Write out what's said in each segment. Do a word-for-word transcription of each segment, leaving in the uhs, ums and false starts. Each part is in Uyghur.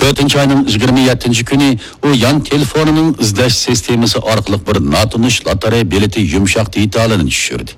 تۆتىنچى ئاينىڭ يىگىرمە يەتتىنچى كۈنى ئۇ يان تېلېفونىنىڭ ئىزدەش سىستېمىسى ئارقىلىق بىر ناتونۇش لاتارىيە بېلىتى يۇمشاق دېتالىنى چۈشۈردى.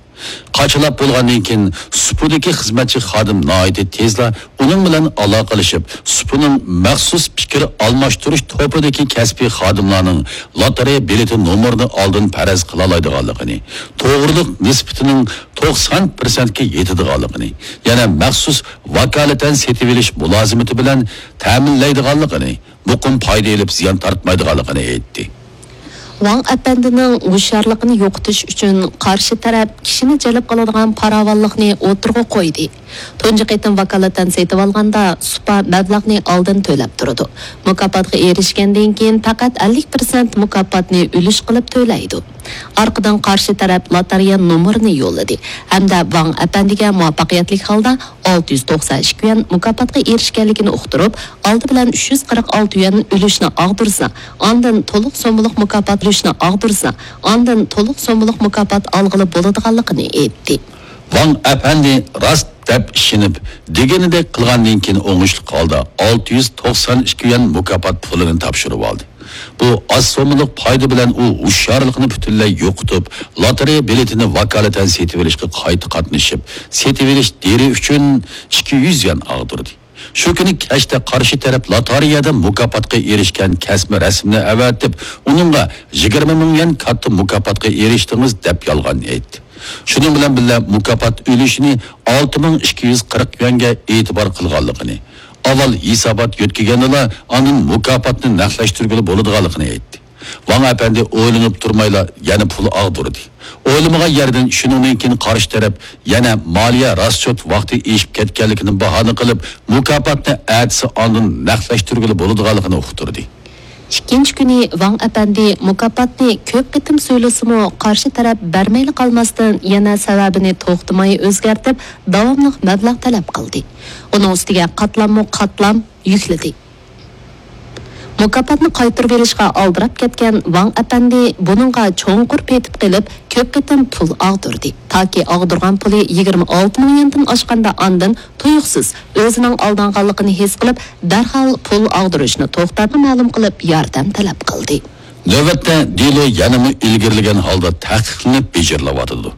قاچىلاپ بولغاندىن كېيىن، سۇپىدىكى خىزمەتچى خادىم ناھايىتى تېزلا ئۇنىڭ بىلەن ئالاقىلىشىپ، سۇپىنىڭ مەخسۇس پىكىر ئالماشتۇرۇش توپىدىكى كەسپىي خادىملارنىڭ لاتارىيە بېلىتى نومۇرىنى ئالدىن پەرەز قىلالايدىغانلىقىنى، توغرىلىق نىسبىتىنىڭ توقسان پىرسەنتكە يېتىدىغانلىقىنى، يەنە مەخسۇس ۋاكالىتەن سېتىۋېلىش مۇلازىمىتى بىلەن تەمىنلەيدىغانلىقىنى، مۇقىم پايدا ئېلىپ زىيان تارتمايدىغانلىقىنى ئېيتتى. ۋاڭ ئەپەندىنىڭ ھوشيارلىقىنى يوقىتىش ئۈچۈن قارشى تەرەپ كىشىنى جەلپ قىلىدىغان پاراۋانلىقنى ئوتتۇرىغا قويدى. تۇنجى قېتىم ۋاكالىتەن سېتىۋالغاندا سۇپا مەبلەغنى ئالدىن تۆلەپ تۇرىدۇ. مۇكاپاتقا ئېرىشكەندىن كېيىن پەقەت ئەللىك پىرسەنت مۇكاپاتنى ئۈلۈش قىلىپ تۆلەيدۇ. ئارقىدىن قارشى تەرەپ لاتارىيە نومۇرىنى يوللىدى ھەمدە ۋاڭ ئەپەندىگە مۇۋەپپەقىيەتلىك ھالدا ئالتە يۈز توقسان ئىككى يۈەن مۇكاپاتقا ئېرىشكەنلىكىنى ئۇقتۇرۇپ، ئالدى بىلەن ئۈچ يۈز قىرىق ئالتە يۈەن ئۈلۈشنى ئاغدۇرسا، ئاندىن تولۇق سوممىلىق مۇكاپات ئۈلۈشنى ئاغدۇرسا، ئاندىن تولۇق سوممىلىق مۇكاپات ئالغىلى بولىدىغانلىقىنى ئېيتتى. ۋاڭ ئەپەندى راست دەپ ئىشىنىپ، دېگىنىدەك قىلغاندىن كېيىن ئوڭۇشلۇق ھالدا ئالتە يۈز توقسان ئىككى يۈەن مۇكاپات پۇلىنى تاپشۇرۇۋالدى. بۇ ئاز سوممىلىق پايدا بىلەن ئۇ ھوشيارلىقىنى پۈتۈنلەي يوقىتىپ، لاتارىيە بېلىتىنى ۋاكالىتەن سېتىۋېلىشقا قايتا قاتنىشىپ، سېتىۋېلىش دېرى ئۈچۈن ئىككى يۈز يۈەن ئاغدۇردى. شۇ كۈنى كەچتە قارشى تەرەپ لاتارىيەدە مۇكاپاتقا ئېرىشكەن كەسمە رەسىمنى ئەۋەتىپ، ئۇنىڭغا يىگىرمە مىڭ يۈەن كاتتا مۇكاپاتقا ئېرىشتىڭىز دەپ يالغان ئېيتتى. شۇنىڭ بىلەن بىللە، مۇكاپات ئۈلۈشىنى ئالتە مىڭ ئىككى يۈز قىرىق يۈەنگە ئېتىبار قىلغانلىقىنى، ئاۋۋال ھېسابات يۆتكىگەندىلا ئاندىن مۇكاپاتنى نەقلەشتۈرگىلى بولىدىغانلىقىنى ئېيتتى. ۋاڭ ئەپەندى ئويلىنىپ تۇرمايلا يەنە پۇل ئاغدۇردى. ئويلىمىغان يەردىن شۇنىڭدىن كېيىن قارشى تەرەپ يەنە مالىيە راسچوت ۋاقتى ئېشىپ كەتكەنلىكىنى باھانە قىلىپ، مۇكاپاتنى ئەتىسى ئاندىن نەقلەشتۈرگىلى بولىدىغانلىقىنى ئۇقتۇردى. ئىككىنچى كۈنى ۋاڭ ئەپەندى مۇكاپاتنى كۆپ قېتىم سويلىسىمۇ، قارشى تەرەپ بەرمەيلا قالماستىن، يەنە سەۋەبىنى توختىماي ئۆزگەرتىپ، داۋاملىق مەبلەغ تەلەپ قىلدى. ئۇنىڭ ئۈستىگە قاتلاممۇ قاتلام يۈكلىدى. مۇكاپاتنى قايتۇرۇۋېلىشقا ئالدىراپ كەتكەن ۋاڭ ئەپەندى بۇنىڭغا چوڭقۇر پېتىپ قېلىپ، كۆپ قېتىم پۇل ئاغدۇردى. تاكى ئاغدۇرغان پۇلى يىگىرمە ئالتە مىڭ يۈەندىن ئاشقاندا ئاندىن تۇيۇقسىز ئۆزىنىڭ ئالدانغانلىقىنى ھېس قىلىپ، دەرھال پۇل ئاغدۇرۇشنى توختاتقان مەلۇم قىلىپ ياردەم تەلەپ قىلدى. نۆۋەتتە دېلو يەنىمۇ ئىلگىرىلىگەن ھالدا تەھقىقلىنىپ بېجىرىلىۋاتىدۇ.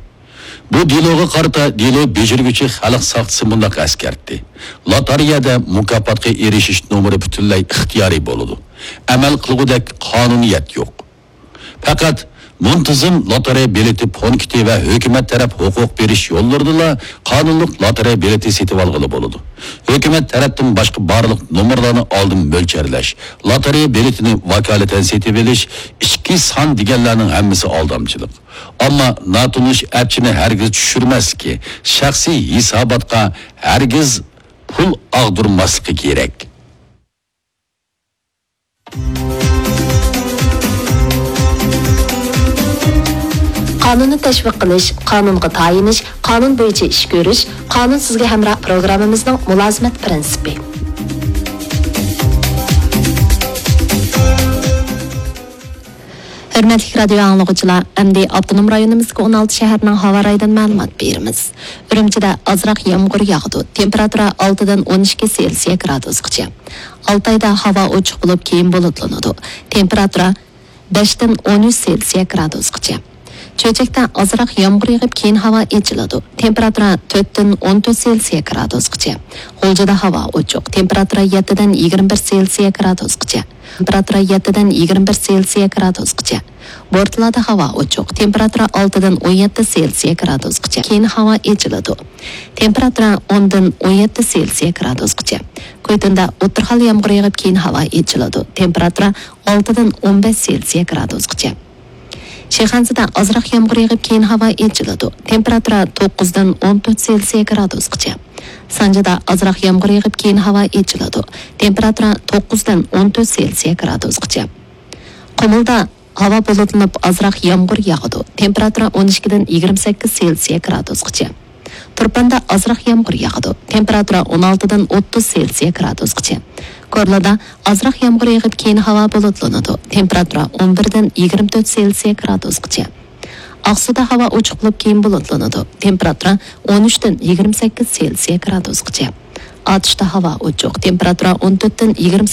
بۇ دېلوغا قارىتا دېلو بېجىرگۈچى خەلق ساقچىسى مۇنداق ئەسكەرتتى: لاتارىيەدە مۇكاپاتقا ئېرىشىش نومۇرى پۈتۈنلەي ئىختىيارىي بولىدۇ. ئەمەل قىلغۇدەك قانۇنىيەت يوق. پەقەت مۇنتىزىم لاتارىيە بېلىتى پونكىتى ۋە ھۆكۈمەت تەرەپ ھوقۇق بېرىش يوللىرىدىلا قانۇنلۇق لاتارىيە بېلىتى سېتىۋالغىلى بولىدۇ. ھۆكۈمەت تەرەپتىن باشقا بارلىق نومۇرلارنى ئالدىن مۆلچەرلەش، لاتارىيە بېلىتىنى ۋاكالىتەن سېتىۋېلىش، ئىچكى سان دېگەنلەرنىڭ ھەممىسى ئالدامچىلىق. ئەمما ناتونۇش ئەپچىنى ھەرگىز چۈشۈرمەسلىكى، شەخسىي ھېساباتقا ھەرگىز پۇل ئاغدۇرماسلىقى كېرەك. قانۇننى تەشۋىق قىلىش، قانۇنغا تايىنىش، قانۇن بويىچە ئىش كۆرۈش، قانۇن سىزگە ھەمراھ پروگراممىمىزنىڭ مۇلازىمەت پىرىنسىپى. ھۆرمەتلىك رادىيو ئاڭلىغۇچىلار، ئەمدى ئاپتونوم رايونىمىزدىكى ئون ئالتە شەھەرنىڭ ھاۋا رايىدىن مەلۇمات بېرىمىز. ئۈرۈمچىدە ئازراق يامغۇر ياغىدۇ. تېمپېراتۇرا ئالتىدىن ئون ئىككى سېلسىيە گرادۇسقىچە. ئالتايدا ھاۋا ئوچۇق بولۇپ، كېيىن بۇلۇتلىنىدۇ. تېمپېراتۇرا بەشتىن ئون ئۈچ سېلسىيە گرادۇسقىچە. چۆچەكتە ئازراق يامغۇر يېغىپ، كېيىن ھاۋا ئېچىلىدۇ. تېمپېراتۇرا تۆتتىن ئون تۆت سېلسىيە گرادۇسقىچە. غۇلجىدا ھاۋا ئوچۇق. تېمپېراتۇرا يەتتىدىن يىگىرمە بىر سېلسىيە گرادۇسقىچە. تېمپېراتۇرا يەتتىدىن يىگىرمە بىر سېلسىيە گرادۇسقىچە. بورتالادا ھاۋا ئوچۇق. تېمپېراتۇرا ئالتىدىن ئون يەتتە سېلسىيە گرادۇسقىچە. كېيىن ھاۋا ئېچىلىدۇ. تېمپېراتۇرا ئوندىن ئون يەتتە سېلسىيە گرادۇسقىچە. كويتۇندا ئوتتۇرا خىل يامغۇر يېغىپ، كېيىن ھاۋا ئېچىلىدۇ. تېمپېراتۇرا ئالتىدىن ئون بەش سېلسىيە گرادۇسقىچە. شىخەنزىدە ئازراق يامغۇر يېغىپ، كېيىن ھاۋا ئېچىلىدۇ. تېمپېراتۇرا توققۇزدىن ئون تۆت سېلسىيە گرادۇسقىچە. سانجىدا ئازراق يامغۇر يېغىپ، كېيىن ھاۋا ئېچىلىدۇ. تېمپېراتۇرا توققۇزدىن ئون تۆت سېلسىيە گرادۇسقىچە. قۇمۇلدا ھاۋا بۇلۇتلىنىپ، ئازراق يامغۇر ياغىدۇ. تېمپېراتۇرا ئون ئىككىدىن يىگىرمە سەككىز سېلسىيە گرادۇسقىچە. تۇرپاندا ئازراق يامغۇر ياغىدۇ. تېمپېراتۇرا ئون ئالتىدىن ئوتتۇز سېلسىيە گرادۇسقىچە. كورلادا ئازراق يامغۇر يېغىپ، كېيىن ھاۋا بۇلۇتلىنىدۇ. تېمپېراتۇرا ئون بىردىن يىگىرمە تۆت سېلسىيە گرادۇسقىچە. ئاقسۇدا ھاۋا ئوچۇق بولۇپ، كېيىن بۇلۇتلىنىدۇ. تېمپېراتۇرا ئون ئۈچتىن يىگىرمە سەككىز سېلسىيە گرادۇسقىچە. ئاتۇشتا ھاۋا ئوچۇق. تېمپېراتۇرا ئون تۆتتىن يىگىرمە